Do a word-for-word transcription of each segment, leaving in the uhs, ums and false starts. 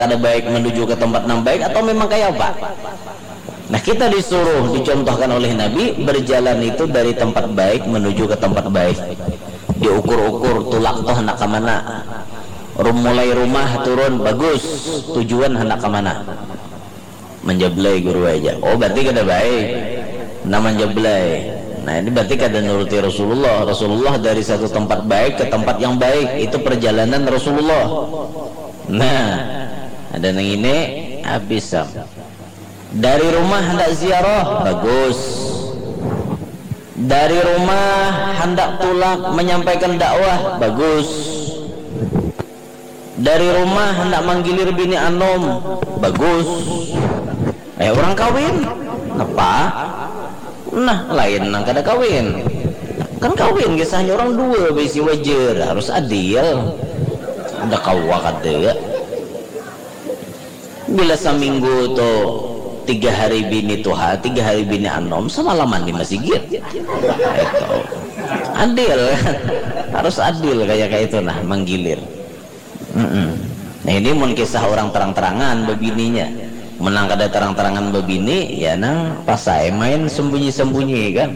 kada baik menuju ke tempat nang baik atau memang kayak apa? Nah, kita disuruh, dicontohkan oleh Nabi, berjalan itu dari tempat baik menuju ke tempat baik. Diukur-ukur tulak tuh hendak ke mana. Rum-, mulai rumah turun, bagus, tujuan hendak ke mana. Menjablai guru aja. Oh, berarti kada baik. Nah, menjablai. Nah, ini berarti kada nuruti Rasulullah. Rasulullah dari satu tempat baik ke tempat yang baik. Itu perjalanan Rasulullah. Nah, ada nang ini habis sam. Dari rumah hendak ziarah, bagus. Dari rumah hendak tulak menyampaikan dakwah, bagus. Dari rumah hendak manggilir bini anom, bagus. Eh, orang kawin, napa? Nah, lain nang kada kawin. Kan kawin kisahnya orang dua, bisi wajar, harus adil. Ada kawa kada. Bila saminggu tu tiga hari bini tuha, tiga hari bini anom, samalaman di masigit. Itu. Adil, kan? Harus adil kayak kayak itu nah, manggilir. Mm-mm. Nah, ini mun kisah orang terang-terangan bebininya. Menang kada terang-terangan bebini, ya nang pasai main sembunyi-sembunyi kan.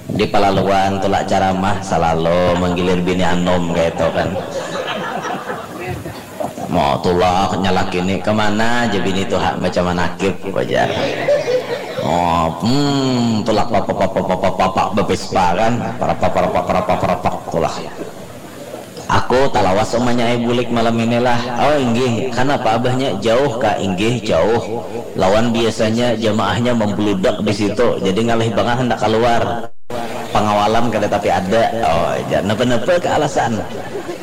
Di palaluan tulak caramah salalu manggilir bini anom kayak itu kan. Mau tulak nyalak ini kemana aja bini tuha baca manakib wajar. Oh, hmm, tulak papa papa papa papa bepespa kan, parapa parapa parapa parapa tulak. Aku talawas umanya ai bulik malam inilah. Oh inggih, kanapa abahnya? Jauh ka? Inggih jauh. Lawan biasanya jamaahnya membludak di situ, jadi ngalih bangat hendak keluar. Pengawalan kada tapi ada. Oh, ja, napa-napa ke alasan.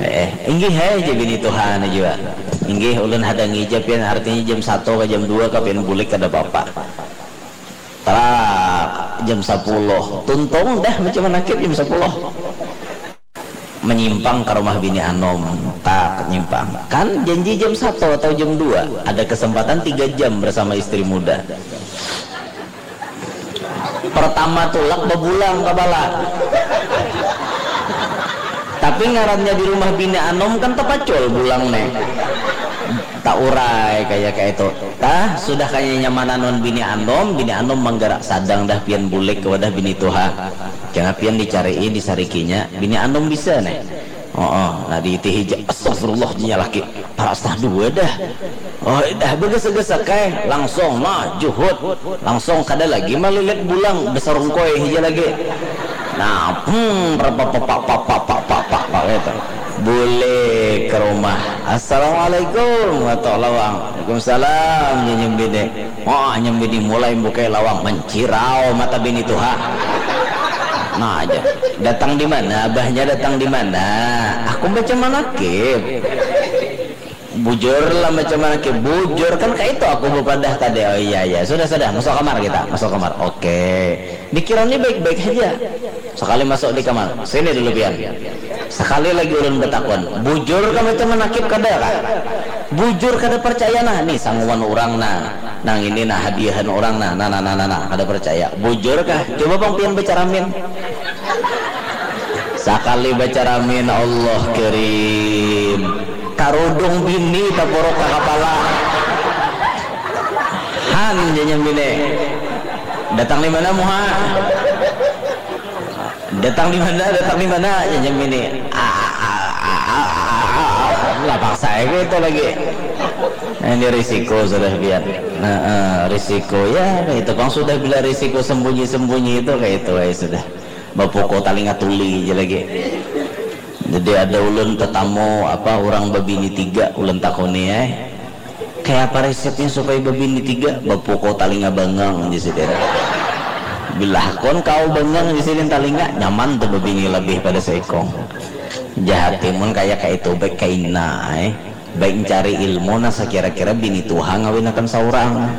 Eh, inggih hai, ja bini tuha jua. Inggih, ulun hadangi ja pian, artinya jam satu ke jam dua ka pian bulik kada apa-apa. Tarak, jam sepuluh. Tuntung dah macam manakib jam sepuluh. Menyimpang ke rumah bini anom, tak nyimpang. Kan janji jam satu atau jam dua, ada kesempatan tiga jam bersama istri muda. Pertama tulak bebulang kepala. Tapi ngarannya di rumah bini anom kan tepacul bulang nih. Tak urai kayak kayak itu. Tah, sudah kaya nyamanan wan bini anom, bini anom manggarak sadang dah pian bulik ke wadah bini tuha. Jangan pian dicari'i, disarikinya, bini anom bisa nih. Oh, oh. Nah diitihi ja, astagfirullah, jinya laki. Para setah dua dah. Oh, dah bergesa-gesa kai, langsung mah juhut, langsung kada lagi malilit bulang, besarungkoi hija lagi. Nah, hmm, rapapapak papak papak papak gitu. Bulik ke rumah. Assalamualaikum, watok lawang. Waalaikumsalam, nyenyum bini. Wah, nyambini mulai bukai lawang, mancirau mata bini tuha. Nah aja. Datang di mana? Abahnya datang di mana? Aku baca manakib. Bujur lah baca manakib. Bujur kan kayak itu aku bepadah tadi. Oh iya iya. Sudah sudah. Masuk kamar kita. Masuk kamar. Oke. Dikiranya baik-baik saja. Sakali masuk di kamar, sini dulu pian. Sakali lagi ulun batakun, bujur kah macam manakib kada kah? Bujur kada percaya nah, ni sanguan urang nah, nang ini nah hadiahan urang nah, nah nah nah nah nah, kada percaya. Bujur kah? Coba pang pian bacaramin. Sakali bacaramin, Allah karim, karudung bini tapuruk ka kapala. Han, janya bini. Datang di mana muha? Datang di mana? Datang di mana? Jajam ini. Lah paksa aku itu lagi. Nah, ini risiko sudah biar. Nah, eh, risiko ya itu pang sudah bila risiko sembunyi-sembunyi itu kayak itu aja sudah. Bapukul talinga tuli aja lagi. Jadi ada ulun tetamu apa orang babini tiga ulun takuni eh. Kaya apa resepnya supaya babini tiga? Bapukau talinga bangang, jar sidin. Bila hakun kawa bangang, jar sidin, talinga, nyaman tu babini labih pada saikung. Jar hati, mun kaya kaitu baik kaina ai. Baik ncari ilmu nang sakira-kira bini tuha ngawinakan saurang.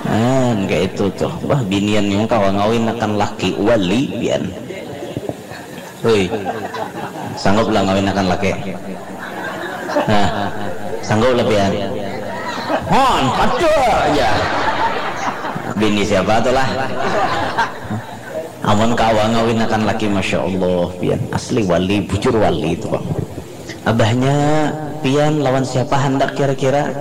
Nah, kaitu tuh. Wah, binian nang kawa ngawinakan laki wali pian. Hui. Sanggup lah ngawinakan laki? Nah, sanggup lah pian? Hon, ada aja. Bini siapa tu lah? Amun kawa ngawinakan laki, masya Allah, pian asli wali, bujur wali itu bang. Abahnya pian lawan siapa handak kira-kira?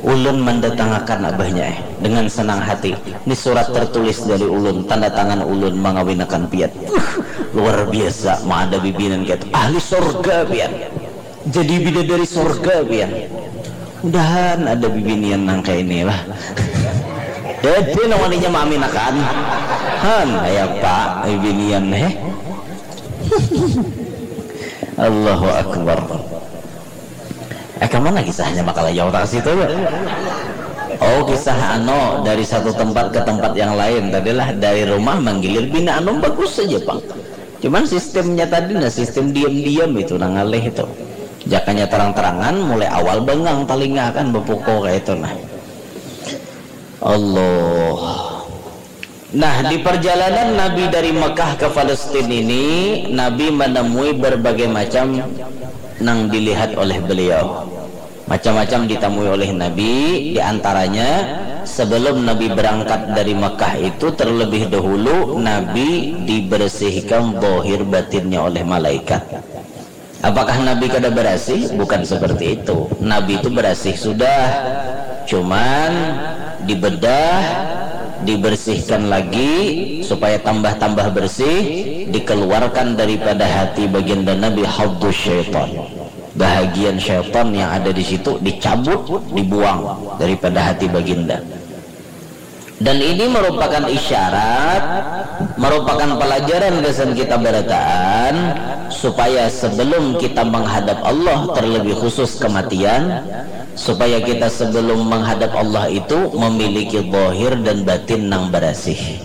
Ulun mandatangakan abahnya eh dengan senang hati. Ni surat tertulis dari ulun, tanda tangan ulun mangawinakan pian. Uh, luar biasa, ma ada bibinan kaya tu. Ahli sorga pian. Jadi bidadari sorga pian. Mudahan ada bibinian nang kaya ini lah. Dede nang waninya maaminakan. Han, kaya apa bibinian eh. Allahu Akbar. Eh, kemana kisahnya maka layau tak situ ya? Oh, kisah ano dari satu tempat ke tempat yang lain tadilah, dari rumah manggilir bini anom bagus saja pang. Cuman sistemnya tadi nah, sistem diam-diam itu nang ngalih itu. Jakanya terang-terangan, mulai awal bengang talinga kan, bepuko kayak itu nah. Allah. Nah, di perjalanan Nabi dari Mekah ke Palestina ini, Nabi menemui berbagai macam nang dilihat oleh beliau. Macam-macam ditemui oleh Nabi, di antaranya sebelum Nabi berangkat dari Mekah itu terlebih dahulu Nabi dibersihkan zahir batinnya oleh malaikat. Apakah Nabi kada berasih? Bukan seperti itu. Nabi itu berasih sudah. Cuman dibedah, dibersihkan lagi supaya tambah-tambah bersih, dikeluarkan daripada hati baginda Nabi haddus syaitan. Bahagian syaitan yang ada di situ dicabut, dibuang daripada hati baginda. Dan ini merupakan isyarat, merupakan pelajaran gasan kita barataan, supaya sebelum kita menghadap Allah, terlebih khusus kematian, supaya kita sebelum menghadap Allah itu memiliki zahir dan batin nang berasih.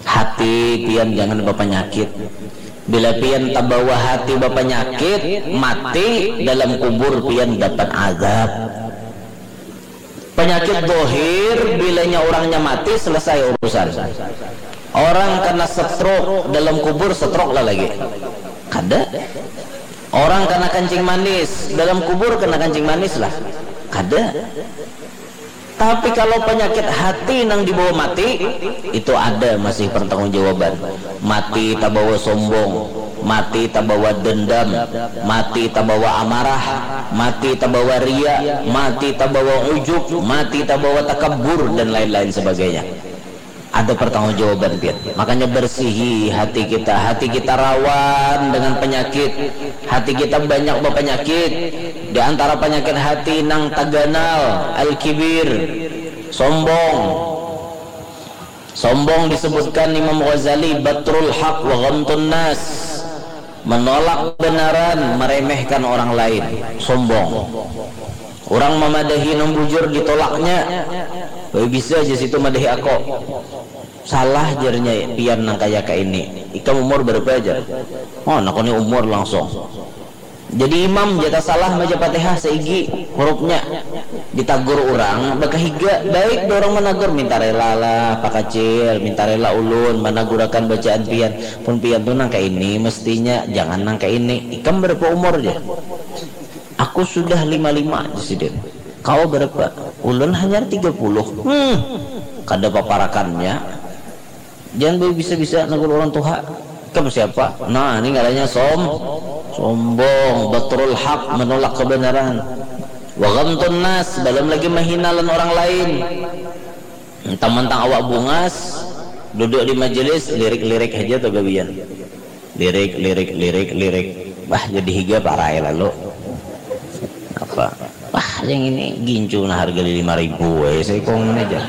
Hati pian jangan bapanyakit. Bila pian tabawa hati bapanyakit, mati dalam kubur pian dapat azab. Penyakit dohir, bilanya orangnya mati, selesai urusan. Orang kena stroke dalam kubur, stroke lah lagi. Kada. Orang kena kencing manis dalam kubur, kena kencing manis lah. Kada. Tapi kalau penyakit hati nang dibawa mati, itu ada masih pertanggungjawaban. Mati tabawa sombong, mati tabawa dendam, mati tabawa amarah, mati tabawa ria, mati tabawa ujub, mati tabawa takabur, dan lain-lain sebagainya. Ada pertanggungjawaban pian. Makanya bersihi hati kita. Hati kita rawan dengan penyakit. Hati kita banyak berpenyakit. Di antara penyakit hati nang taganal, al-kibir, sombong. Sombong disebutkan Imam Ghazali, batrul haq wa ghamtun nas. Menolak kebenaran, meremehkan orang lain. Sombong. Orang memadahi nang bujur ditolaknya. Bae bisa aja situ madahi ako. Salah jarnya pian nang kaya ka ini. Ikam umur berapa aja? Oh, aku ni umur langsung. Jadi imam jatah salah maja Fatihah saigi hurufnya. Ditagur orang bakahiga, baik dorang managur minta rela lah pakacil, minta rela ulun managurakan bacaan pian. Pun pian tu nang ka ini mestinya, jangan nang ka ini. Ikam berapa umur ja? Aku sudah lima lima, sidin. Kau berapa? Ulun hanyar tiga puluh. Hmm, kada paparakannya. Jangan bisa-bisa nagur orang tuha. Ikam siapa? Nah, ini ngarannya som sombong, batrul haq, menolak kebenaran. Wa ghamtun nas, belum lagi mahina lan orang lain. Mentang-mentang awak bungas, duduk di majelis, lirik-lirik aja tuh gawian. Lirik, lirik, lirik, lirik. Bah, jadi higa parai lalu. Apa? Wah, yang ini gincu nah harga lima ribu eh, saya kong ini aja.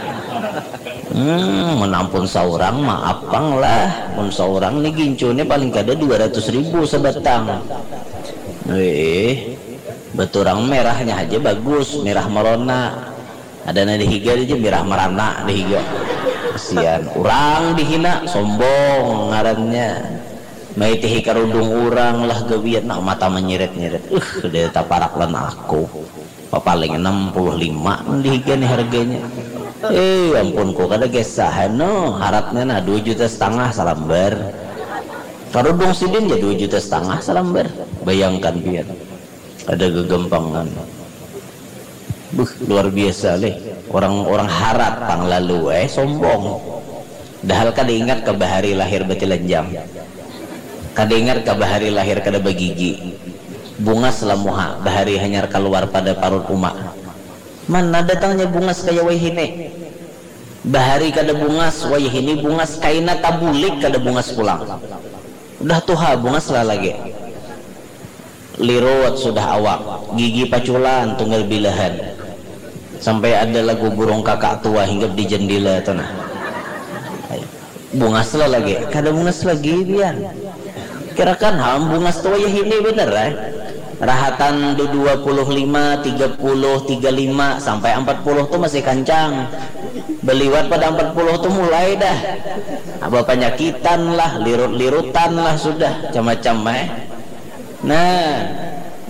Hmm, menampun seorang maaf pang lah. Mun seorang nih gincu nih paling kada dua ratus ribu sebatang. Eh, beturang merahnya aja bagus, merah merona. Ada na dihiga aja merah merana dihiga. Kasihan, orang dihina, sombong ngarannya. Maitihi karudung urang lah gawian, nah, mata manyirit-nyirit. Uh, dia taparak lan aku. Papaling enam puluh lima dihiga nih harganya. Eh, ampun, ku kada kesahan no, haratnya nah dua juta setengah salambar. Karudung sidin ya dua juta setengah salambar. Bayangkan pian. Ada gegampangan. Buh, luar biasa leh. Orang-orang harat pang lalu eh sombong. Dahal kada ingat ka bahari lahir batilanjang. Kada ingat ka bahari lahir kada bagigi. Bungas lah muha, bahari hanyar kaluar pada parut uma. Mana datangnya bungas kaya wayahini? Bahari kada bungas, wayahini bungas, kaina tabulik kada bungas pulang. Udah tuha bungas lah lagi. Lirut sudah awak, gigi paculan tunggal bilahan. Sampai ada lagu burung kakak tua hinggap di jendela tu nah. Bungas lah lagi, kada bungas lagi pian. Kirakan ham bungas tu wayahini bener eh. Rahatan du dua puluh lima, tiga puluh, tiga lima sampai empat puluh tu masih kancang. Beliwat pada empat puluh tu mulai dah. Apa panyakitan lah, lirut-lirutan lah sudah, macam-macam eh. Nah,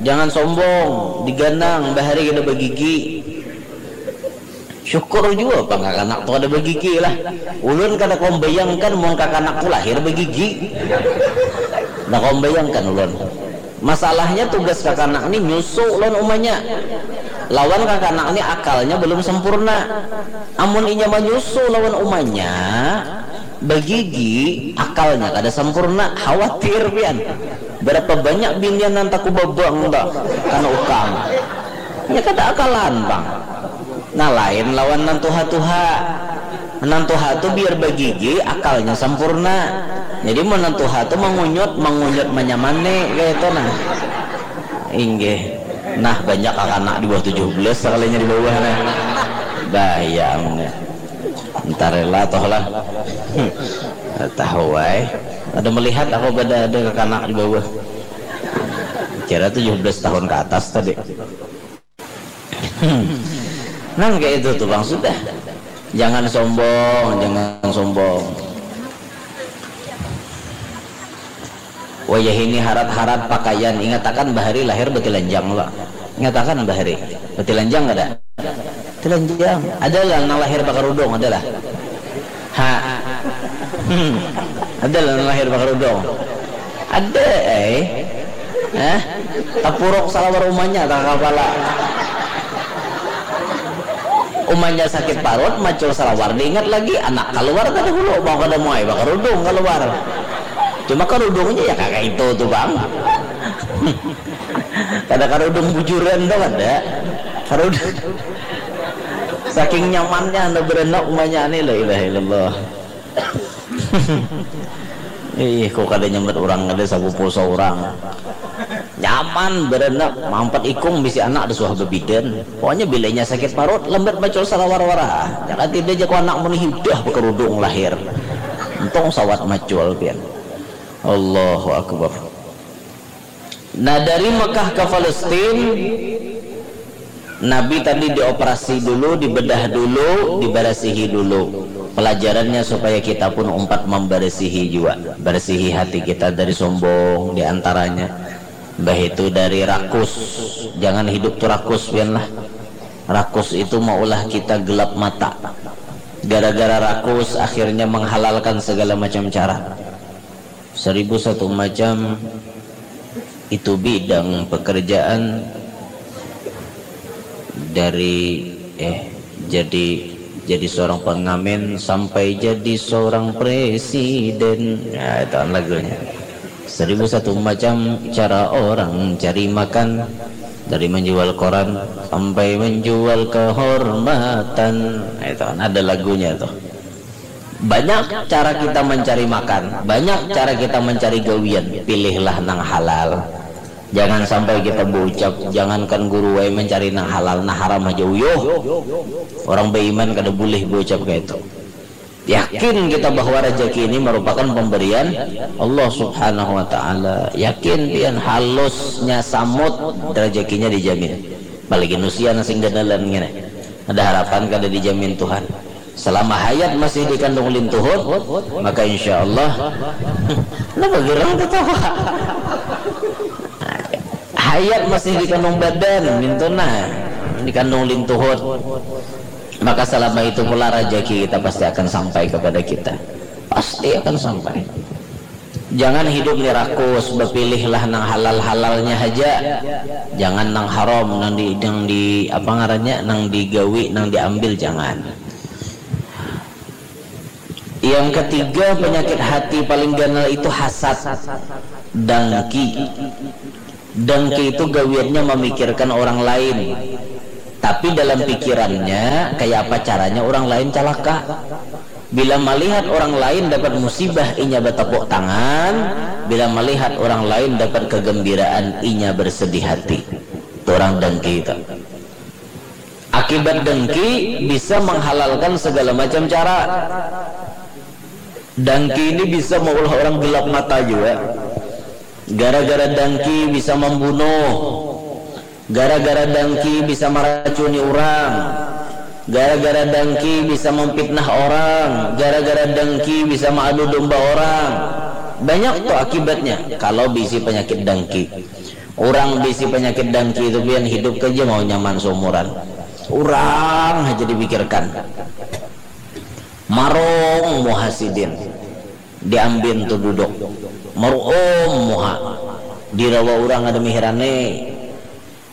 jangan sombong, diganang bahari kada bagigi. Syukur jua pang kakanak tu kada bagigi lah. Ulun kada kawa membayangkan mun kakanak tu lahir bagigi. Kada kawa membayangkan ulun. Masalahnya tugas kakanak ni nyusu lawan umanya. Lawan kakanak ni akalnya belum sempurna. Amun inya manyusu lawan umanya bagigi, akalnya kada sempurna, khawatir pian. Berapa banyak binian nang takubabang tu kana ukang. Nya kada akalan pang. Nah, lain lawan nang tuha-tuha. Nang tuha tu biar bagigi, akalnya sempurna. Jadi mun nang tuha tu mangunyut, mangunyut manyamani kaya itu nah. Inggih. Nah, banyak kakanak di bawah tujuh belas sekalinya di bawah nah. Bayang. Entah rela toh lah. Hmm. Tahu ai. Ada melihat aku pada ada kakanak di bawah. Kira tujuh belas tahun ke atas tadi. Hmm. Nang kayak itu tuh bang sudah. Jangan sombong, jangan sombong. Wayah ini harat-harat pakaian, ingatakan bahari lahir betilanjang lo. Ingatakan bahari betilanjang kada? Betilanjang. Ada lah nang lahir pakarudung, ada lah. Ha. Hmm. Ada lah nang lahir pakarudung. Ada eh. Hah? Tapuruk salawar umanya tang kapala. Umanya sakit parut, macul salawar, diingat lagi anak kaluar kada hulu, mau kada muai bakarudung kaluar. Cuma karudungnya ya kaka itu tu bang. Kada karudung bujuran tu kada. Karudung. Saking nyamannya anda berenak umanya ni la ilaha illallah. Ih, kok kada nyambat orang kada sapupu seorang. Nyaman berenak, mampat ikung bisi anak ada suah bebidan. Pokoknya bilanya sakit parut, lambat macul salawar wara. Jangan tidak jago anak muni udah bekerudung lahir. Untung sawat macul pian. Allahu Akbar. Nah, dari Mekah ke Palestin, Nabi tadi dioperasi dulu, dibedah dulu, dibarasihi dulu. Pelajarannya supaya kita pun umpat membarasihi juga. Barasihi hati kita dari sombong di antaranya. Bah itu dari rakus. Jangan hidup tu rakus pian lah. Rakus itu maulah kita gelap mata. Gara-gara rakus akhirnya menghalalkan segala macam cara. Seribu satu macam itu bidang pekerjaan dari eh jadi jadi seorang pengamen sampai jadi seorang presiden. Ya, itu kan lagunya. Seribu satu macam cara orang cari makan, dari menjual koran sampai menjual kehormatan. Nah, itu kan ada lagunya tuh. Banyak cara kita mencari makan, banyak cara kita mencari gawian. Pilihlah nang halal. Jangan sampai kita berucap, jangankan guru wae mencari nang halal, nah haram aja uyuh. Orang beriman kada boleh berucap kayak itu. Yakin kita bahwa rezeki ini merupakan pemberian Allah Subhanahu wa Ta'ala. Yakin pian halusnya samut rezekinya dijamin. Apalagi nusia nang sing gandalan ngene. Ada harapan kada dijamin Tuhan. Selama hayat masih dikandung lintuhut, maka insya Allah. Kenapa gerang ketawa? Hayat masih dikandung badan, mintuna dikandung lintuhut. Maka selama itu pula rezeki kita pasti akan sampai kepada kita. Pasti akan sampai. Jangan hidup ni rakus, bepilihlah nang halal-halalnya haja. Jangan nang haram, nang di nang di apa ngarannya, nang digawi, nang diambil, jangan. Yang ketiga, penyakit hati paling ganal itu hasad, dengki. Dengki itu gawiannya memikirkan orang lain. Tapi dalam pikirannya, kaya apa caranya urang lain calaka. Bila malihat urang lain dapat musibah, inya batapuk tangan. Bila malihat urang lain dapat kagambiraan, inya bersedih hati. Itu urang dengki itu. Akibat dengki bisa manghalalkan sagala macam cara. Dengki ini bisa maulah urang gelap mata jua. Gara-gara dengki bisa mambunuh. Gara-gara dengki bisa maracuni urang. Gara-gara dengki bisa mamfitnah orang. Gara-gara dengki bisa maadu domba orang. Banyak tu akibatnya kalau bisi panyakit dengki. Urang bisi panyakit dengki tu pian hidup haja mau nyaman saumuran. Urang haja dipikirkan. Marung muha sidin. Diambin tu duduk. Maruum muha. Dirawa urang ada mihirane.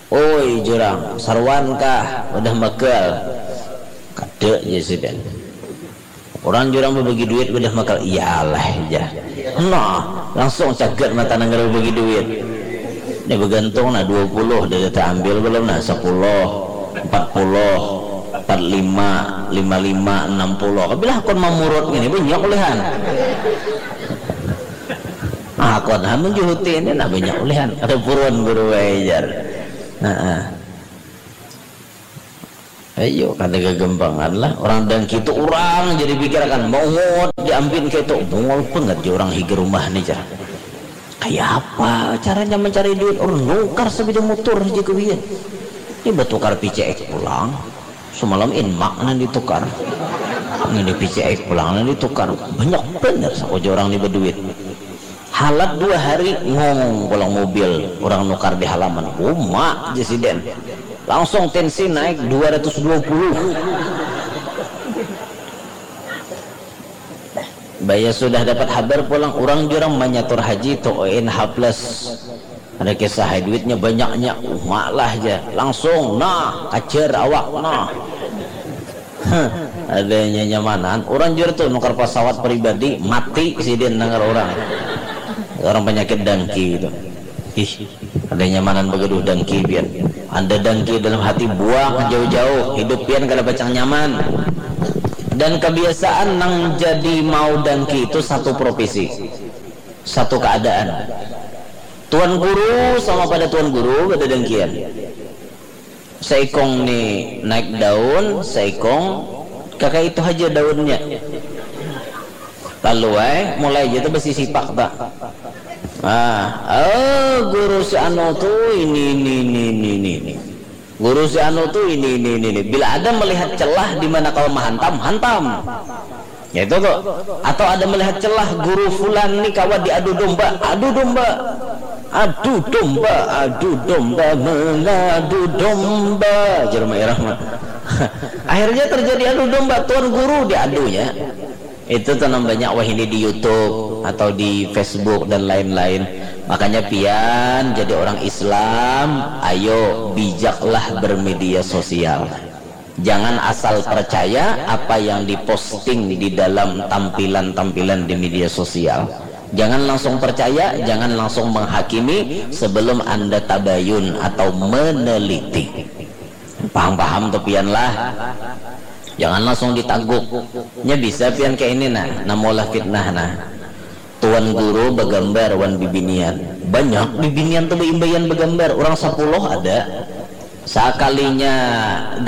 Oi jurang, saruan kah? Wadah magal. Kada ja sidin. Urang jurang babagi duit wadah magal. Iyalah ja. Nah, langsung cagat mata nang kada babagi duit. Ini bagantung nah, dua puluh dah taambil balum nah, sapuluh, empat puluh, empat lima, lima lima, enam puluh. Kabilah hakun mamurut ngini banyak ulihan. Ah, hakun ha manjuhuti ini nah banyak ulihan. Kada buruan guru ai jar. Nah, ah. Ayo, kada gagampangan lah. Urang dengki tu urang jadi pikirakan, maungut diambin kaitu. Bungul bangat ja urang higa rumah ni jar. Kaya apa caranya mancari duit? Urang nukar sapida mutur haja gawian. Ni batukar P C X pulang. Samalam Inmak nang ditukar. Ngini P C X pulang nang ditukar. Banyak banar sakuja urang ni baduit. Halat dua hari, ngong pulang mobil urang nukar di halaman. Uma ja sidin. Langsung tensi naik dua ratus dua puluh. Baya sudah dapat habar pulang, urang jua urang manyatur haji tu, O N H plus. Ada kisah ai, duitnya banyaknya, uma lah ja. Langsung, nah, kajar awak, nah. Ada nyamanan, urang jua tu nukar pasawat pribadi, mati sidin nang urang. Urang panyakit dengki tu. Ih, ada nyamanan bagaduh dengki pian. Ada dengki dalam hati, buang jauh-jauh, hidup pian kada pacang nyaman. Dan kebiasaan nang jadi mau dengki itu satu profesi, satu keadaan. Tuan guru sama pada tuan guru kada dengkian. Saikung ni naik daun, saikung kakaitu haja daunnya. Lalu ai, mulai ja tu basisipak ta. Ah, oh, guru si anu tu ini, ini, ini, ini, ini, ini. Guru si anu tu ini, ini, ini, ini. Bila ada melihat celah di mana kawa mahantam, hantam. Ya itu tu. Atau ada melihat celah guru fulan ni kawa diadu domba, adu domba. Adu domba, adu domba, mengadu domba. Jar Mak Irah mah. Akhirnya terjadi adu domba, tuan guru diadunya. Itu tu nang banyak wahini di YouTube atau di Facebook dan lain-lain. Makanya pian jadi orang Islam, ayo bijaklah bermedia sosial. Jangan asal percaya apa yang diposting di dalam tampilan-tampilan di media sosial. Jangan langsung percaya, jangan langsung menghakimi sebelum Anda tabayun atau meneliti. Paham-paham tu pian lah. Jangan langsung ditaguk. Nya bisa pian kayak ini nah, namulah fitnah nah. Tuan guru bagambar wan bibinian. Banyak bibinian tu baimbaian bagambar. Urang sapuluh ada. Sakalinya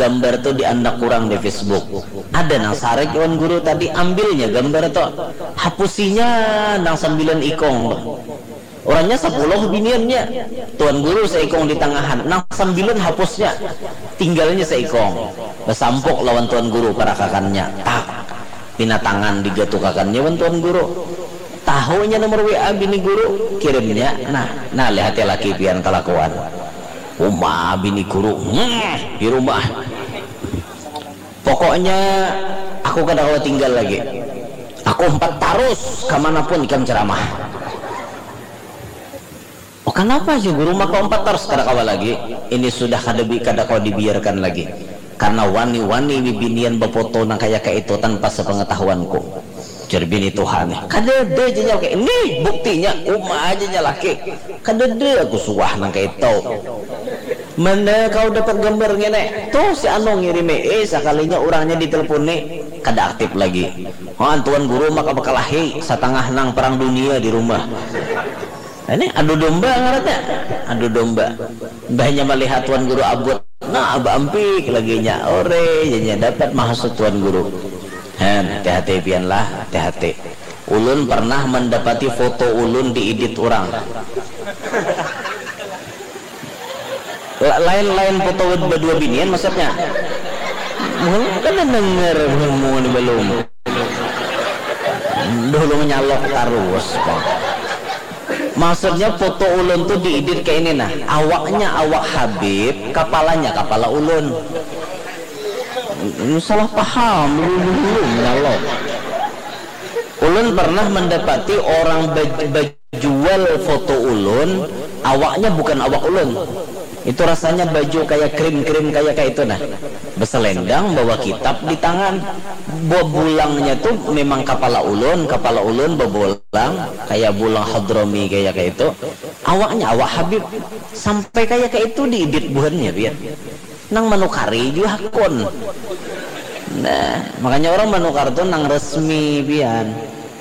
gambar tu diandak urang di Facebook. Ada nang sarik wan guru tadi, ambilnya gambar tu. Hapusinya nang sambilan ikung tu. Urangnya sapuluh biniannya. Tuan guru saikung di tangahan. Nang sambilan hapusnya. Tinggalnya saikung. Basampuk lawan tuan guru parakakannya. Tak. Pina tangan digatukakannya wan tuan guru. Tahunya nomor W A bini guru, kirimnya. Nah, nah lihati laki pian kalakuan. Uma bini guru, hmm, di rumah. Pokoknya aku kada kawa tinggal lagi. Aku umpat tarus kamanapun ikam ceramah. Oh, kenapa sih guru maka umpat tarus kada kawa lagi? Ini sudah kada bi kada kawa dibiarkan lagi. Karena wani-wani bibinian bafoto nang kaya kaitu tanpa sepengetahuanku. Jar bini tuha nih. Kada ada aja nyalaki. Nih buktinya, uma aja nyalaki. Kada ada aku suah nang kaitu. Mana kau dapat gambar ngene? Tuh si Anu ngirimi. Eh, sakalinya urangnya diteleponi, kada aktif lagi. Oh, tuan guru maka bakalahi satangah nang perang dunia di rumah. Ini adu domba ngarannya. Adu domba. Mbahnya melihat tuan guru abut. Nah, abah ampik lagi nya. Ore, jadinya dapat maksud tuan guru. Hen, hati-hati pian lah, hati-hati. Ulun pernah mendapati foto ulun diedit orang. La- lain-lain foto berdua binian maksudnya. Mun kada dengar ngomong ni belum. Dulu menyalok terus. Maksudnya foto ulun tuh diedit kayak ini nah. Awaknya awak Habib, kepalanya kepala ulun. Salah paham, dulu menyalok. Ulun pernah mendapati orang baj- bajual foto ulun, awaknya bukan awak ulun. Itu rasanya baju kayak krim-krim kayak kayak itu nah. Beselendang bawa kitab di tangan. Bebulangnya tuh memang kepala ulun, kepala ulun bebulang kayak bulang Hadrami kayak kayak itu. Awaknya awak Habib sampai kayak kayak itu diedit buhannya biar nang manukari jua hakun. Nah, makanya orang manukar tuh nang resmi pian.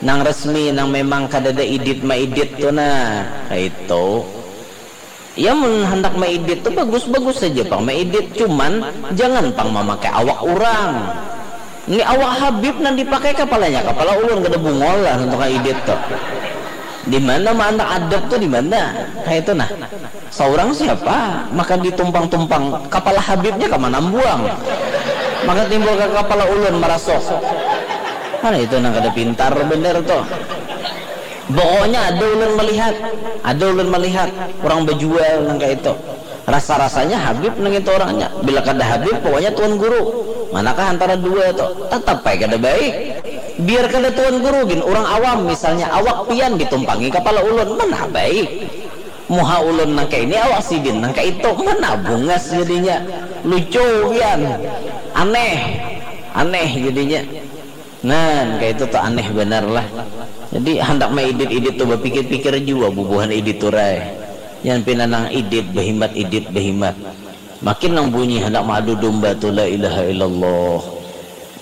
Nang resmi, nang memang kadada idit maidit tuh nah. Kayak itu. Ya mun handak maidit tuh bagus-bagus saja pang maidit, cuman jangan pang mamakai awak orang. Ini awak Habib nang dipakai kepalanya, kepala ulun kada bungol lah untuk idit tuh. Di mana ma handak adab tuh di mana? Kayak itu nah. Seorang siapa? Maka ditumpang-tumpang kepala Habibnya ke mana buang. Maka timbul ke kepala ulun merasuk. Mana itu nang kada pintar bener tuh. Pokoknya ada ulun melihat, ada ulun melihat orang berjual nang kayak itu. Rasa-rasanya Habib nang itu orangnya. Bila kada Habib, pokoknya tuan guru. Manakah antara dua tuh? Tetap baik kada baik. Biar kada tuan guru gin, orang awam misalnya awak pian ditumpangi kepala ulun, mana baik. Muha ulun nang kayak ini, awak sidin nang kayak itu, mana bungas jadinya. Lucu pian. Aneh. Aneh jadinya. Nah, kayak itu tuh aneh benar lah. Jadi handak mah idit-idit tuh berpikir-pikir juga bubuhan idit turai. Yang pina nang idit behimat, idit behimat. Makin nang bunyi handak mengadu domba tu la ilaha illallah.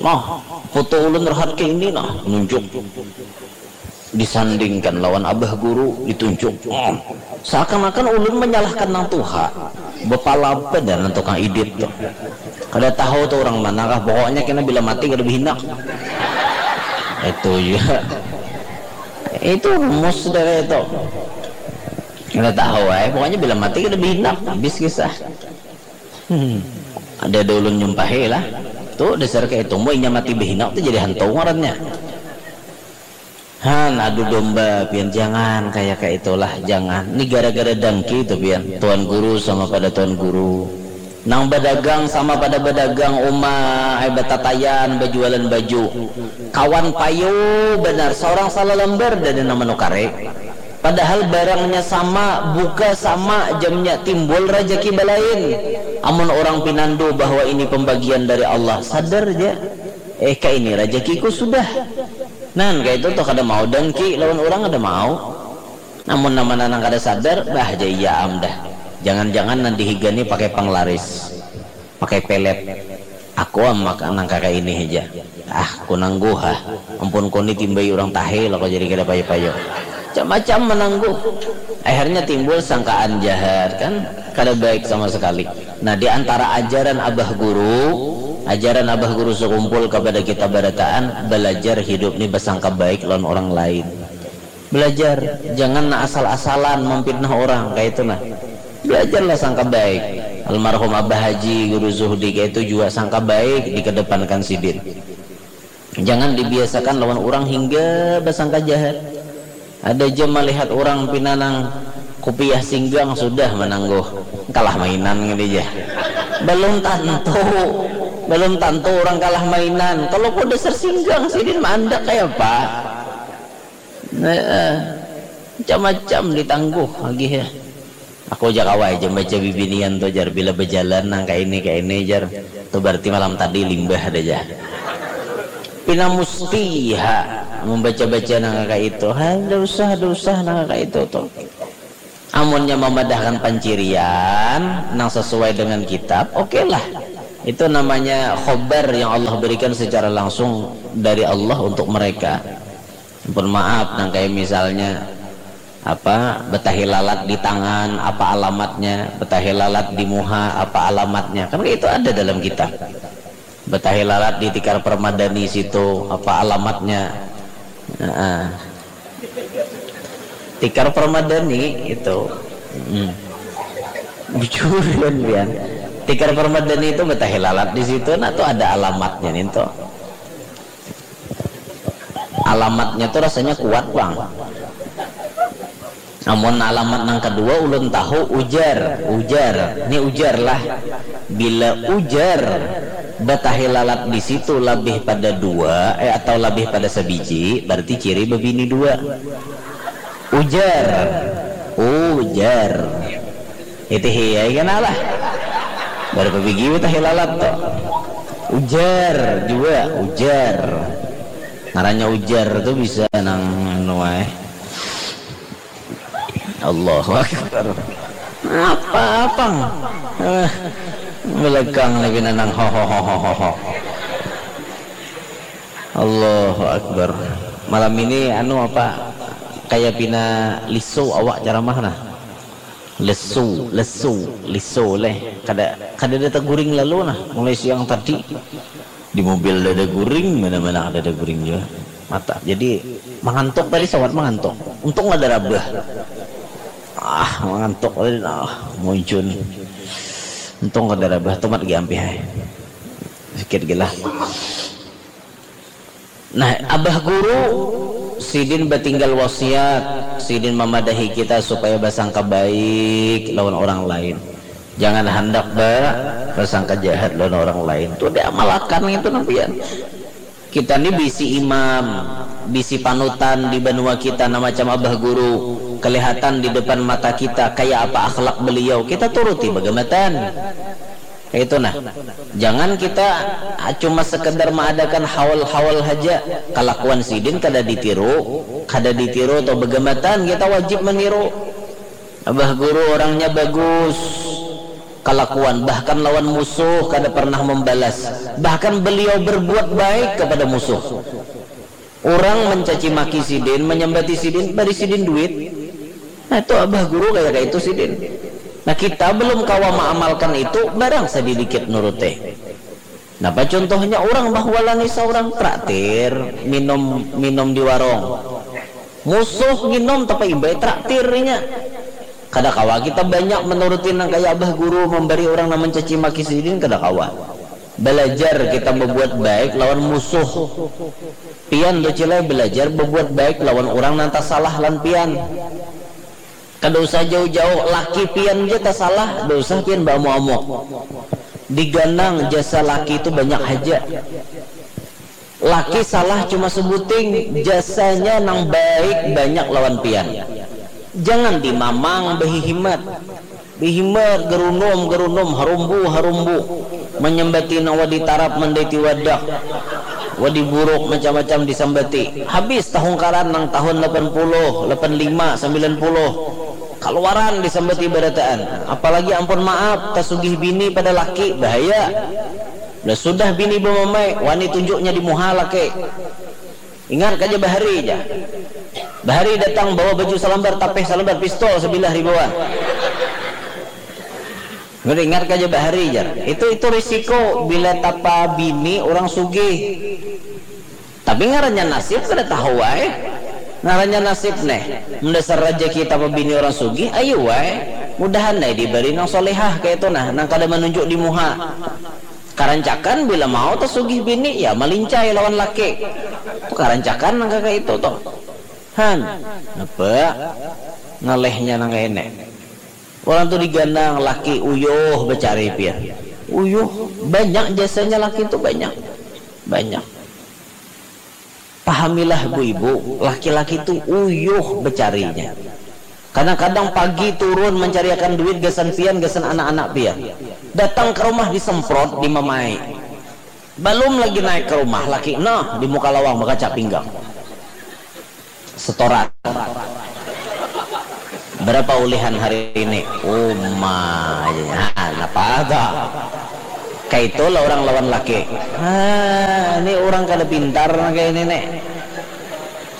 Nah, foto ulun rahat ke ini nah, nunjuk. Disandingkan lawan abah guru, ditunjuk. Hmm. Seakan-akan ulun menyalahkan nang tuha. Bepala apa dan tukang idit tu. Kada tahu tu orang mana kah, pokoknya kena bila mati kada behinak. Itu juga. Itu rumus dari itu. Kada tahu eh, pokoknya bila mati kada behinak, habis kisah. Hmm. Ada ada ulun nyumpahi lah. Tu dasar kayak itu, inya mati behinak tu jadi hantu ngarannya. Han, adu domba pian, jangan kayak kayak itulah, jangan. Ini gara-gara dangki tu pian. Tuan guru sama pada tuan guru. Nang badagang sama pada badagang uma, ai batatayan, bajualan baju. Kawan payu benar, seorang salah lembar dan nama nukare. Padahal barangnya sama, buka sama, jamnya timbul rajaki balain. Amun orang pinandu bahwa ini pembagian dari Allah, sadar ja. Eh, ka ini rajakiku sudah. Nan, kayak itu tuh kada mau dangki lawan orang kada mau. Namun nama nanang kada sadar, bah ja iya am dah. Jangan-jangan nanti higani pakai panglaris, pakai pelet. Aku am maka nang kaka ini aja. Ah, ku nangguh ah. Ampun kuni timbai orang tahe lah kau jadi kada payo-payo. Macam-macam menangguh. Akhirnya timbul sangkaan jahat kan, kada baik sama sekali. Nah, di antara ajaran abah guru, ajaran abah guru sekumpul kepada kita barataan, belajar hidup ni bersangka baik lawan orang lain. Belajar, jangan asal-asalan memfitnah orang kayak itu nah. Belajarlah sangka baik. Almarhum Abah Haji Guru Zuhdi kayak itu juga sangka baik dikedepankan sidin. Jangan dibiasakan lawan orang hingga bersangka jahat. Ada jam melihat orang pinanang kupiah singgang sudah menangguh. Kalah mainan gitu ya. Belum tentu. Belum tentu orang kalah mainan. Kalau kau dasar singgang sidin mandak kayak apa? Nah, eh, macam-macam ditangguh lagi ya. Aku aja kawai aja baca bibinian tuh jar bila berjalan nang kayak ini kayak ini jar. Tuh berarti malam tadi limbah ada aja. Pina mustiha membaca-baca nang kayak itu. Hai, dosa dosa nang kayak itu tuh. Amunnya mamadahkan pancirian nang sesuai dengan kitab, oke lah. Itu namanya khobar yang Allah berikan secara langsung dari Allah untuk mereka. Ampun maaf, nang kayak misalnya apa, betahi lalat di tangan, apa alamatnya, betahi lalat di muha, apa alamatnya, kan itu ada dalam kitab. Betahi lalat di tikar permadani situ, apa alamatnya. Heeh. Tikar permadani itu. Hmm. Bujur kan pian. Tikar permadani itu betahi lalat di situ, nah tuh ada alamatnya nih tuh. Alamatnya tuh rasanya kuat, Bang. Namun alamat nang kedua ulun tahu, ujar, ujar. Ini ujar lah. Bila ujar betahi lalat di situ lebih pada dua, eh, atau lebih pada sebiji, berarti ciri bebini dua. Ujar, ujar. Itu hiya, iya lah. Baru bebigi betahi lalat tuh. Ujar juga, ujar. Ngarannya ujar tuh bisa nang anu, eh. Allahu Akbar. Apa, apang? Eh, belekang nih pina nang ho, ho, ho, ho, ho, ho. Allahu Akbar. Malam ini anu apa? Kayak pina lisu awak ceramah nah. Lesu, lesu, lisu leh. Kada, kada ada teguring lalu nah. Mulai siang tadi di mobil ada guring, mana-mana ada guring juga. Mata. Jadi mengantuk tadi, sawat mengantuk. Untung ada rabah. Ah, mengantuk tadi nah, muncun. Untung ada rabah, tumat giampih ai. Sikit gila. Nah, abah guru sidin batinggal wasiat, sidin mamadahi kita supaya basangka baik lawan orang lain. Jangan handak ba basangka jahat lawan orang lain. Tuh diamalakan itu nampian. Kita ni bisi imam, bisi panutan di banua kita, nah macam abah guru kelihatan di depan mata kita, kaya apa akhlak beliau, kita turuti bagamatan. Itu nah. Jangan kita ah, cuma sekedar mengadakan haul-haul haja. Kalakuan sidin kada ditiru, kada ditiru atau begamatan, kita wajib meniru. Abah guru orangnya bagus. Kalakuan bahkan lawan musuh kada pernah membalas. Bahkan beliau berbuat baik kepada musuh. Urang mencaci maki sidin, menyambati sidin, bari sidin duit. Nah itu abah guru kayak kayak itu sidin. Nah kita belum kawa mengamalkan itu, barang sedikit nurute. Napa contohnya orang bahwalani seorang traktir minum minum di warung. Musuh nginum tapi imbai traktirnya. Kada kawa kita banyak menuruti nang kayak abah guru memberi orang nang mencaci maki sidin, kada kawa. Belajar kita membuat baik lawan musuh. Pian tu cilai belajar berbuat baik lawan orang nang tasalah lan pian. Kada usah jauh-jauh, laki pian ja tasalah, kada usah pian baamuk-amuk. Diganang jasa laki tu banyak haja. Laki salah cuma sebuting, jasanya nang baik banyak lawan pian. Jangan dimamang behihimat. Bihimat, gerunum, gerunum, harumbu, harumbu. Menyambati nang wadi tarap, mandaiti wadak. Wadi buruk, macam-macam disambati. Habis tahungkaran nang tahun lapan puluh, lapan lima, sambilan puluh. Kaluaran disambati barataan. Apalagi ampun maaf, tasugih bini pada laki, bahaya. Dah sudah bini bamamai, wani tunjuknya di muha laki. Ingat kaja bahari ja. Bahari datang bawa baju salambar, tapih salambar, pistol sabilah dibawa. Ingat kaja bahari jar. Itu itu risiko bila tapa bini orang sugih. Tapi ngarannya nasib kada tahu wae. Ngarannya nasib neh. Mendasar rajaki tapa bini orang sugih, ayu wae. Mudahan neh diberi nang solehah kayak itu nah, nang kada menunjuk di muha. Karancakan bila mau tasugih bini, ya malincai lawan laki. Tu karancakan nang kaya itu tu. Han, napa? Ngalehnya nang kaya ini. Orang tu diganang laki uyuh bacari pian. Uyuh, banyak jasanya laki tu banyak. Banyak. Pahamilah bu ibu, laki-laki tu uyuh becarinya. Kadang-kadang pagi turun mencariakan duit gasan pian, gasan anak-anak pian. Datang ke rumah disemprot, dimamai. Balum lagi naik ke rumah, laki nah di muka lawang bakaca pinggang. Setoran. Berapa ulihan hari ini? Uma, nah, napa tuh? Kaitulah orang lawan laki. Ah, ini orang kada pintar kayak ini nih.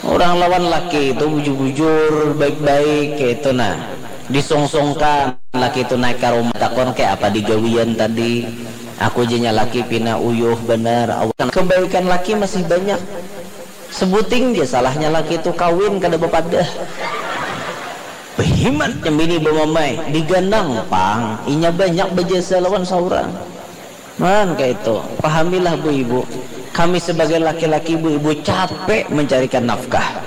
Orang lawan laki itu bujur-bujur, baik-baik kayak itu nah. Disungsungkan laki itu naik ke rumah, takon kayak apa digawian tadi. Aku jenya laki pina uyuh bener. Kebaikan laki masih banyak. Sebuting je salahnya laki itu kawin kada bepadah. Behimat nyambini bemamai, diganang pang, inya banyak bejasa lawan saurang. Man kayak itu, pahamilah bu ibu, kami sebagai laki-laki bu ibu capek mencarikan nafkah.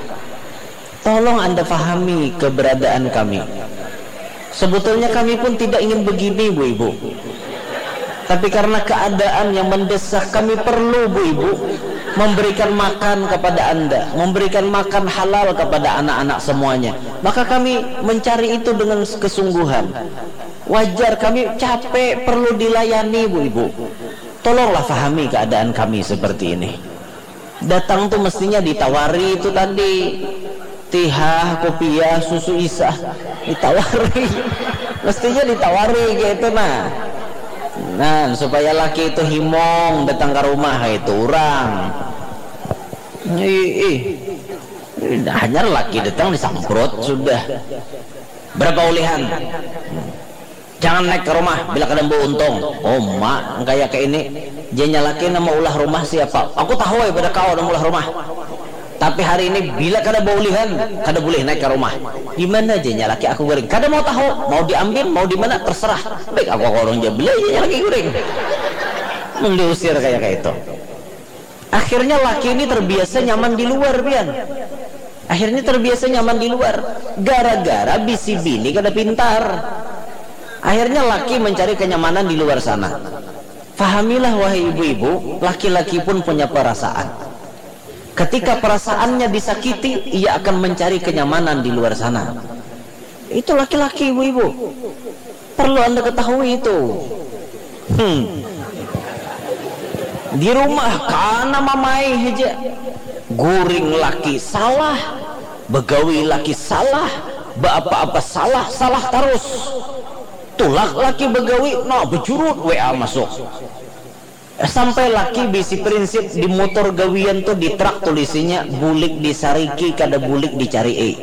Tolong anda pahami keberadaan kami. Sebetulnya kami pun tidak ingin begini bu ibu. Tapi karena keadaan yang mendesak, kami perlu bu ibu memberikan makan kepada anda, memberikan makan halal kepada anak-anak semuanya. Maka kami mencari itu dengan kesungguhan. Wajar kami capek, perlu dilayani bu ibu. Tolonglah pahami keadaan kami seperti ini. Datang tuh mestinya ditawari itu tadi, tihah, kopiah, susu isah, ditawari. Mestinya ditawari kayak itu nah. Nah, supaya laki itu himong datang ke rumah itu orang. Ih, ih. Hanyar laki datang disamprot sudah. Berapa ulihan? Jangan naik ke rumah bila kada membawa untung. Oh mak, kaya ke ini. Janya laki nama ulah rumah siapa? Aku tahu ya pada kau nama ulah rumah. Tapi hari ini bila kada baulihan, kada boleh naik ke rumah. Di mana janya laki aku goreng? Kada mau tahu, mau diambil, mau di mana terserah. Baik aku orang je beli janya laki goreng. Mun diusir kaya kaya itu. Akhirnya laki ini terbiasa nyaman di luar pian. Akhirnya terbiasa nyaman di luar. Gara-gara bisi bini kada pintar. Akhirnya laki mencari kenyamanan di luar sana. Fahamilah wahai ibu-ibu, laki-laki pun punya perasaan. Ketika perasaannya disakiti, ia akan mencari kenyamanan di luar sana. Itu laki-laki ibu-ibu. Perlu anda ketahui itu. Hmm. Di rumah kana mamai haja. Guring laki salah, begawi laki salah, beapa-apa salah, salah terus. Tulak laki begawi, nah bejurut W A masuk. Sampai laki bisi prinsip di motor gawian tu di truk tulisinya bulik disariki kada bulik dicarii.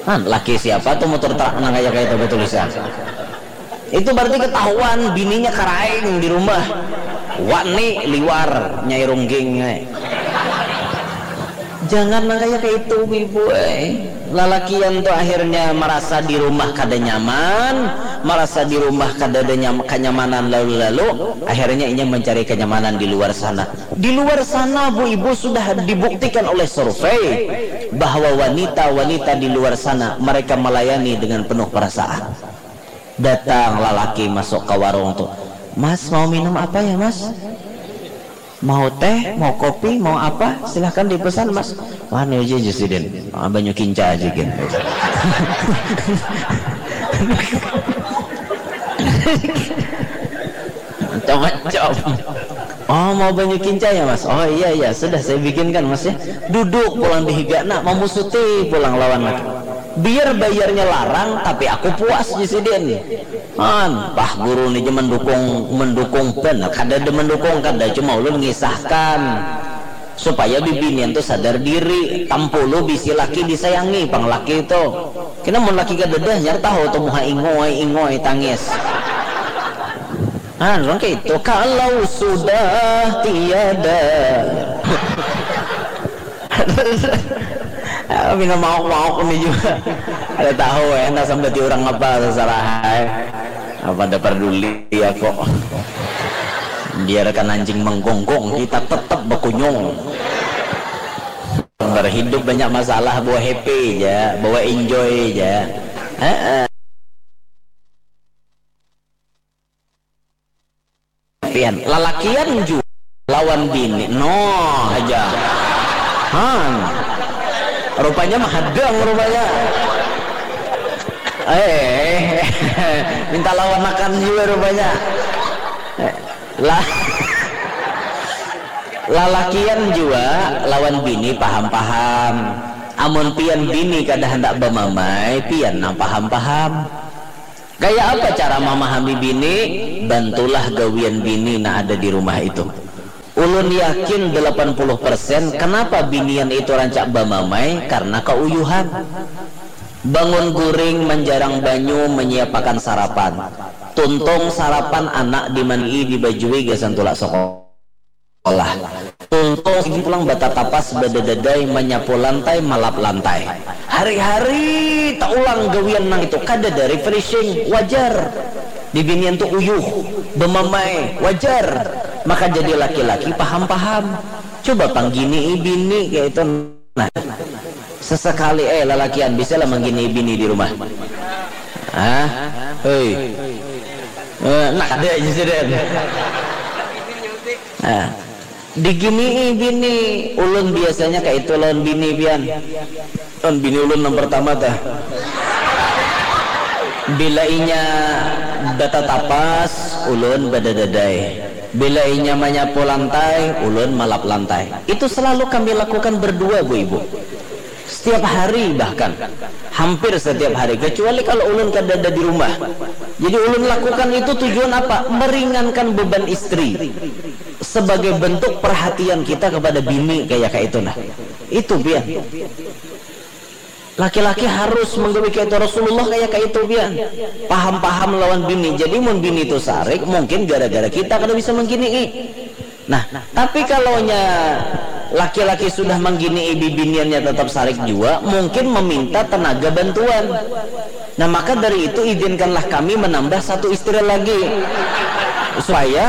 Nah, laki siapa tu motor truk nang kaya kaya itu batulisan. Itu berarti ketahuan bininya karaing di rumah. Wani liwar nyai rungging. Jangan nang kaya kaya itu ibu eh. Lalakian tu akhirnya marasa di rumah kada nyaman, marasa di rumah kada ada nyam, kanyamanan lalu-lalu, akhirnya inya mancari kanyamanan di luar sana. Di luar sana bu ibu sudah dibuktikan oleh survei bahwa wanita-wanita di luar sana mereka melayani dengan penuh perasaan. Datang lalaki masuk ka warung tu, mas mau minum apa ya mas? Mau teh, mau kopi, mau apa? Silahkan dipesan mas. Wah nuju ja sidin, ah, banyu kinca aja gin. Macam-macam. Oh mau banyu kinca ya mas? Oh iya iya sudah saya bikinkan mas ya. Duduk pulang di higa nak mamusuti pulang lawan lagi. Biar bayarnya larang tapi aku puas di sidin. Han, pah guru ni ja mendukung, mendukung banar kada ada mendukung kada, cuma ulun ngisahkan supaya bibinian tu sadar diri, tampulu bisi laki disayangi pang laki tu. Kena mun laki kadada hanyar tahu tu muha ingoi ingoi tangis. Han, urang kaitu kalau sudah tiada. Pina mauk-mauk ni jua. Kada tahu eh, handak sambati urang apa, tasarah ai. Apa ada parduli aku. Biarkan anjing menggonggong, kita tetap bakunyung. Berhidup banyak masalah, bawa happy ja, bawa enjoy ja. Heeh. Pian, lalakian jua lawan bini. Noh haja. Han. Rupanya mahadang rupanya. Eh, minta lawanakan jua rupanya. Eh, lah. Lalakian jua lawan bini paham-paham. Amun pian bini kada handak bamamai, pian nang paham-paham. Kaya apa cara mamahami bini? Bantulah gawian bini nang ada di rumah itu. Ulun yakin delapan puluh persen kenapa binian itu rancak bamamai karena kauyuhan. Bangun guring, manjarang banyu, manyiapakan sarapan. Tuntung sarapan, anak dimandii, dibajui gasan tulak sekolah. Tuntung sidin pulang batatapas, badadadai, manyapu lantai, malap lantai. Hari-hari taulang gawian nang itu, kadada refreshing, wajar. Bibinian tu uyuh, bamamai, wajar. Maka jadi laki-laki paham-paham. Coba pangginii bini kaya itu. Nah, sesekali eh lalakian bisa lah manggini bini di rumah. Hah? Hei. Eh, nah, ada aja sih, Den. Nah, digini bini, ulun biasanya kayak itu lawan bini pian. Lawan bini ulun yang pertama tah. Bila inya batatapas, ulun badadadai. Bila inya manyapu lantai, ulun malap lantai. Itu selalu kami lakukan berdua, Bu Ibu. Setiap hari bahkan. Hampir setiap hari. Kecuali kalau ulun kadada di rumah. Jadi ulun lakukan itu tujuan apa? Meringankan beban istri. Sebagai bentuk perhatian kita kepada bini kayak kayak itu nah. Itu pian. Laki-laki harus menggawi kayak itu. Rasulullah kayak kayak itu pian. Paham-paham lawan bini. Jadi mun bini itu sarik, mungkin gara-gara kita kada bisa mengginii. Nah, tapi kalau nya laki-laki sudah mengginii bibiniannya tetap sarik jua, mungkin meminta tenaga bantuan. Nah, maka dari itu izinkanlah kami menambah satu istri lagi. Supaya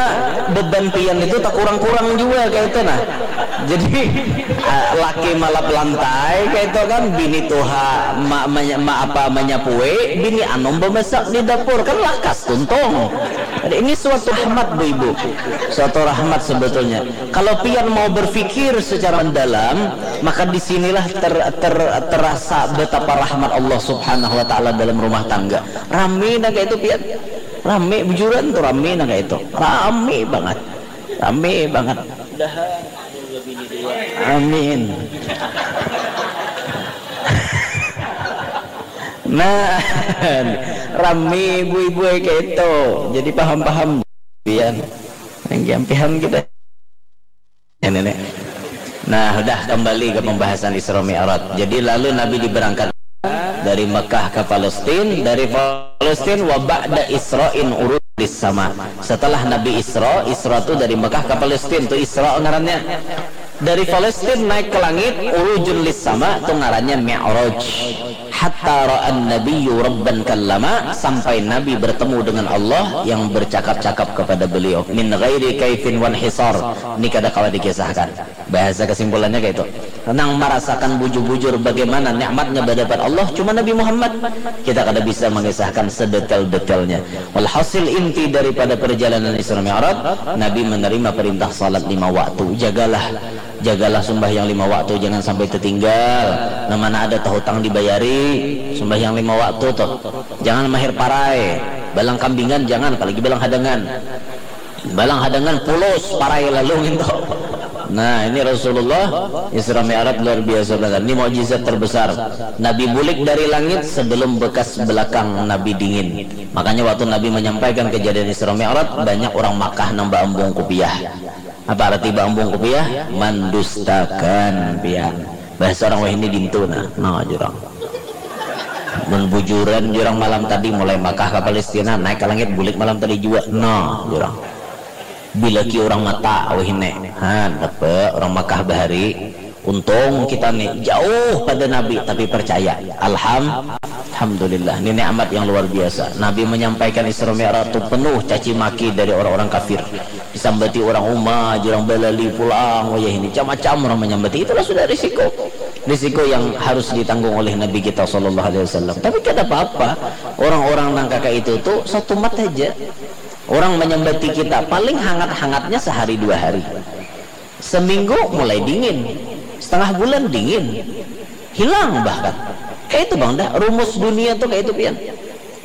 beban pian itu tak kurang-kurang juga kayak itu nah. Jadi ah, laki malap lantai kayak itu kan, bini tuha ma, ma, ma apa menyapui, bini anom memasak di dapur kan lakas tuntung. Jadi ini suatu rahmat Bu Ibu. Suatu rahmat sebetulnya. Kalau pian mau berpikir secara mendalam, maka disinilah ter, ter, terasa betapa rahmat Allah Subhanahu wa Ta'ala dalam rumah tangga. Rami nang kayak itu pian. Rami bujuran tuh, rami nang kayak itu. Rami banget. Rami banget. Amin. Nah, rami ibu-ibu kayak itu. Jadi paham-paham pian. Yang jampihan kita. Ya, nenek. Nah, udah kembali ke pembahasan Isra Mi'raj. Jadi lalu Nabi diberangkat dari Mekah ke Palestina, dari Palestina wa ba'da Isra'in urujun lis sama. Setelah Nabi Isra, Isra tu dari Mekah ke Palestina tu Isra ngarannya. Dari Palestina naik ke langit, urujun lis sama tu ngarannya Mi'raj. Hatta ra'an nabiyyu rabban kallama, sampai Nabi bertemu dengan Allah yang bercakap-cakap kepada beliau. Min ghairi kaifin wan hisar. Ini kada kawa dikisahkan. Bahasa kesimpulannya kayak itu. Nang merasakan bujur-bujur bagaimana nikmatnya berdapat Allah cuma Nabi Muhammad. Kita kada bisa mengisahkan sedetail-detailnya. Walhasil inti daripada perjalanan Isra Mi'raj, Nabi menerima perintah salat lima waktu. Jagalah, jagalah sembahyang lima waktu, jangan sampai tertinggal. Nah, mana ada tahutang dibayari, sembahyang lima waktu tuh. Jangan mahir parai, balang kambingan jangan, apalagi balang hadangan. Balang hadangan pulus parai lalu nginto. Nah, ini Rasulullah Isra Mi'raj luar biasa banget. Ini mukjizat terbesar. Nabi bulik dari langit sebelum bekas belakang Nabi dingin. Makanya waktu Nabi menyampaikan kejadian Isra Mi'raj, banyak orang Makkah nang baambung kupiah. Apa arti baambung kupiah? Mendustakan pian. Bahasa orang wahini dintu nah. Nah, jurang. Mun bujuran jurang malam tadi mulai Makkah ke Palestina, naik ke langit bulik malam tadi juga. Nah, jurang. Bilaki orang mata wahini. Han, apa orang Makkah bahari. Untung kita nih jauh pada Nabi tapi percaya. Alham, alhamdulillah. Ini nikmat yang luar biasa. Nabi menyampaikan Isra Mi'raj itu penuh caci maki dari orang-orang kafir. Disambati orang uma, jurang balali pulang, wayah ini macam-macam orang menyambati. Itulah sudah risiko. Risiko yang harus ditanggung oleh Nabi kita sallallahu alaihi wasallam. Tapi kada apa-apa. Orang-orang nang kaka itu tuh satu mat aja. Orang menyambati kita paling hangat-hangatnya sehari dua hari. Seminggu mulai dingin. Setengah bulan dingin. Hilang bahkan. Kayak itu bang dah. Rumus dunia tuh kayak itu pian.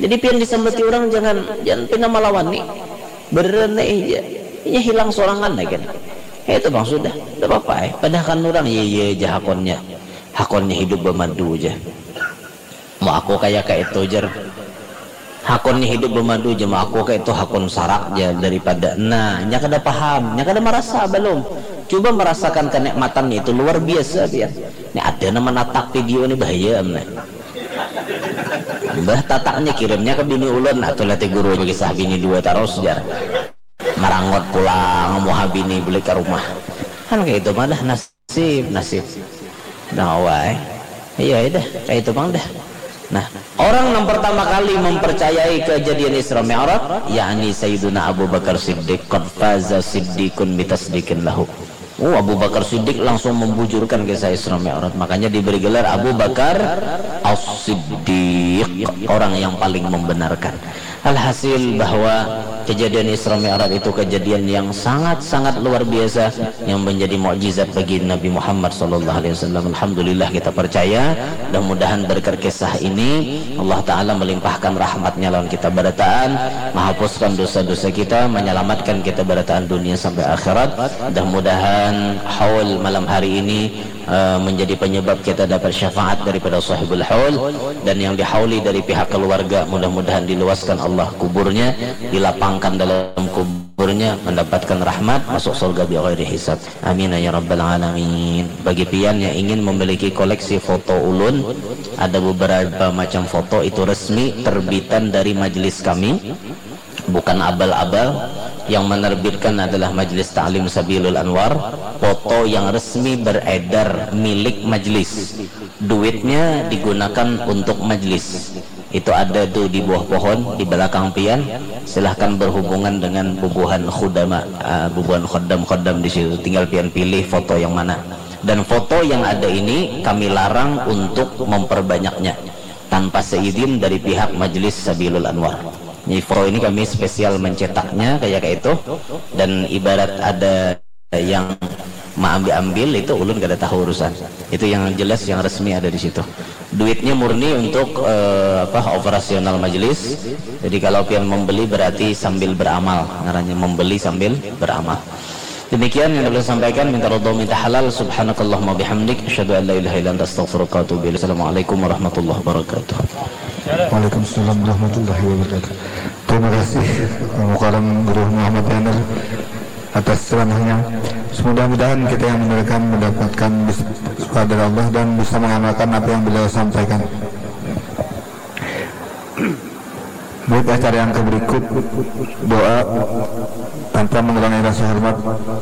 Jadi pian disambati orang jangan jangan pina melawan nih. Berenai aja. Inya hilang sorangan lagi. Kayak itu bang sudah. Tidak apa-apa eh. Padahkan orang iya iya jahakonnya. Hakonnya hidup bamadu ja. Mau aku kaya kaitu jar. Hakonnya hidup bamadu ja, mau aku kaitu hakun sarak ja daripada. Nah, nya kada paham, nya kada marasa balum. Cuba marasakan kanikmatan itu luar biasa pian. Ni ada nang manatak video ni bahaya am nah. Bah tataknya kirimnya ke bini ulun, nah tulah ti guru kisah bini dua tarus jar. Marangut pulang muha bini balik ka rumah. Kan kaitu mah dah nasib, nasib. Nah, wai. Iya dah, kaitu pang dah. Nah, orang yang pertama kali mempercayai kejadian Isra Mi'raj yakni Sayyiduna Abu Bakar Siddiq. Qad faza siddiqun bitasdiqin lahu. Oh, Abu Bakar Siddiq langsung membujurkan kisah Isra Mi'raj. Makanya diberi gelar Abu Bakar As-Siddiq, orang yang paling membenarkan. Alhasil bahwa kejadian Isra Mi'raj itu kejadian yang sangat-sangat luar biasa yang menjadi mukjizat bagi Nabi Muhammad sallallahu alaihi wasallam. Alhamdulillah kita percaya. Mudah-mudahan berkat kisah ini Allah Ta'ala melimpahkan rahmatnya lawan kita barataan, menghapuskan dosa-dosa kita, menyelamatkan kita barataan dunia sampai akhirat. Mudah-mudahan haul malam hari ini eh, menjadi penyebab kita dapat syafaat daripada sahibul haul, dan yang dihauli dari pihak keluarga mudah-mudahan diluaskan Allah kuburnya, dilapangkan dalam kuburnya, mendapatkan rahmat, masuk surga bi ghairi hisab. Amin ya rabbal alamin. Bagi pian yang ingin memiliki koleksi foto ulun, ada beberapa macam foto itu resmi terbitan dari majelis kami, bukan abal-abal. Yang menerbitkan adalah Majelis Ta'lim Sabilul Anwar. Foto yang resmi beredar milik majelis. Duitnya digunakan untuk majelis. Itu ada tuh di bawah pohon di belakang pian. Silahkan berhubungan dengan bubuhan khudama, ah, bubuhan khodam-khodam di situ. Tinggal pian pilih foto yang mana. Dan foto yang ada ini kami larang untuk memperbanyaknya tanpa seizin dari pihak Majelis Sabilul Anwar. Jadi foto ini kami spesial mencetaknya kayak kayak itu, dan ibarat ada yang maambil-ambil itu ulun kada tahu urusan. Itu yang jelas yang resmi ada di situ. Duitnya murni untuk eh, apa operasional majelis. Jadi kalau pian membeli berarti sambil beramal, ngarannya membeli sambil beramal. Demikian yang dapat saya sampaikan, minta ridho, minta halal. Subhanakallahumma bihamdik, asyhadu an la ilaha illa anta, astaghfiruka wa atubu ilaik. Assalamualaikum warahmatullahi wabarakatuh. Waalaikumsalam warahmatullahi wabarakatuh. Terima kasih Al Mukarram Guru Muhammad Yanar atas ceramahnya. Semoga-mudahan kita yang mendengarkan mendapatkan bis- suka dari Allah dan bisa mengamalkan apa yang beliau sampaikan. Baik, acara yang ke berikut, doa. Tanpa mengurangi rasa hormat,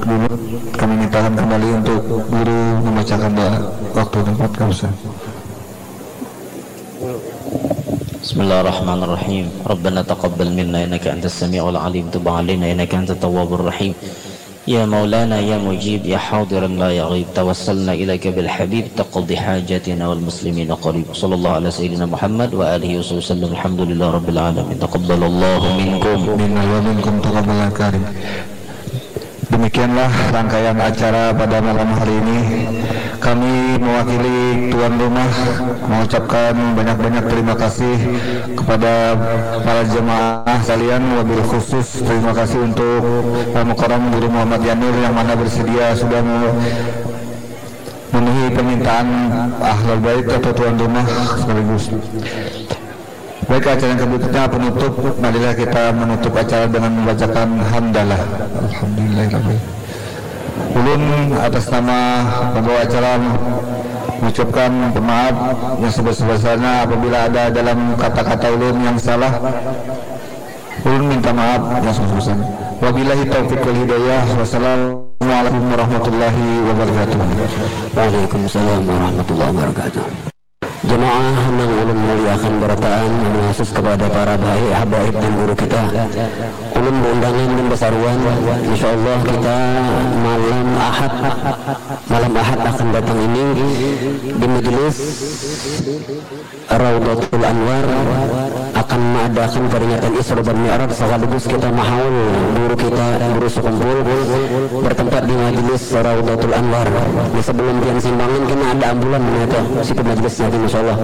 dulu kami mintakan kembali untuk guru membacakan doa. Waktu tempat kau. Bismillahirrahmanirrahim. Rabbana taqabbal minna innaka antas samiul alim, tub alaina innaka antat tawwabur rahim. Ya Maulana ya Mujib ya Hadiran la yaghaib, tawassalna ilaika bil habib taqdi hajatina wal muslimina qarib. Sallallahu ala sayyidina Muhammad wa alihi wa sahbihi wasallam. Alhamdulillah rabbil alamin. Taqabbalallahu minkum. Minna wa minkum taqabbal karim. Demikianlah rangkaian acara pada malam hari ini. Kami mewakili tuan rumah mengucapkan banyak-banyak terima kasih kepada para jemaah sekalian, wabil khusus terima kasih untuk Al Mukarram Guru Muhammad Yanur yang mana bersedia sudah memenuhi permintaan ahlul bait atau tuan rumah sekaligus. Baik, acara yang berikutnya penutup. Marilah kita menutup acara dengan membacakan hamdalah. Alhamdulillahirabbil. Ulun atas nama pembawa acara mengucapkan pemaaf yang sebesar-besarnya apabila ada dalam kata-kata ulun yang salah. Ulun minta maaf yang sebesar-besarnya. Wabillahi taufiq wal hidayah. Wassalamualaikum warahmatullahi wabarakatuh. Waalaikumsalam warahmatullahi wabarakatuh. Jemaah nang ulun muliakan barataan, anu khusus kepada para baik habaib dan guru kita. Ulun beundangan dan basaruan, insyaallah kita malam Ahad, malam Ahad akan datang ini di majelis Raudatul Anwar akan maadakan peringatan Isra dan Mi'raj sekaligus kita mahaul guru kita, guru sekumpul, bertempat di majelis Raudatul Anwar. Di sebelum pian simbangan kena ada ambulan itu situ majelisnya, insyaallah.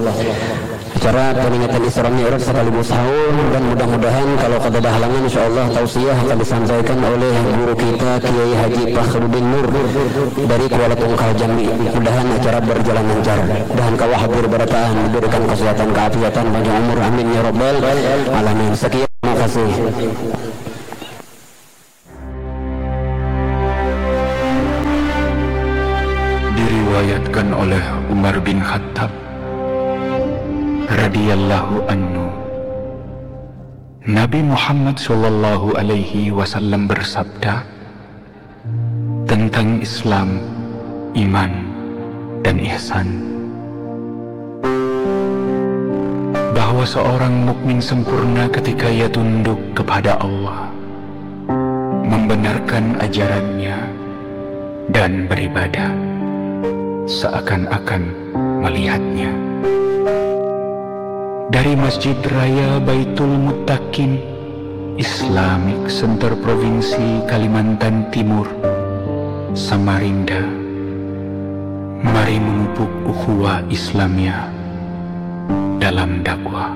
acara peringatan Isra Mi'raj sekaligus haul, dan mudah-mudahan kalau kada ada halangan, insyaallah tausiah akan disampaikan oleh guru kita Kiai Haji Fakhruddin Nur dari Kuala Tungkal, Jambi. Mudahan acara berjalan lancar. Mudahan kawa hadir barataan, diberikan kesehatan, keafiatan, panjang umur. Amin ya rabbal alamin. Sekian, terima kasih. Diriwayatkan oleh Umar bin Khattab radhiyallahu anhu, Nabi Muhammad sallallahu alaihi wasallam bersabda tentang Islam, iman, dan ihsan, bahwa seorang mukmin sempurna ketika ia tunduk kepada Allah, membenarkan ajarannya, dan beribadah seakan-akan melihatnya. Dari Masjid Raya Baitul Muttaqin, Islamic Center Provinsi Kalimantan Timur, Samarinda, mari memupuk ukhuwah Islamiyah dalam dakwah.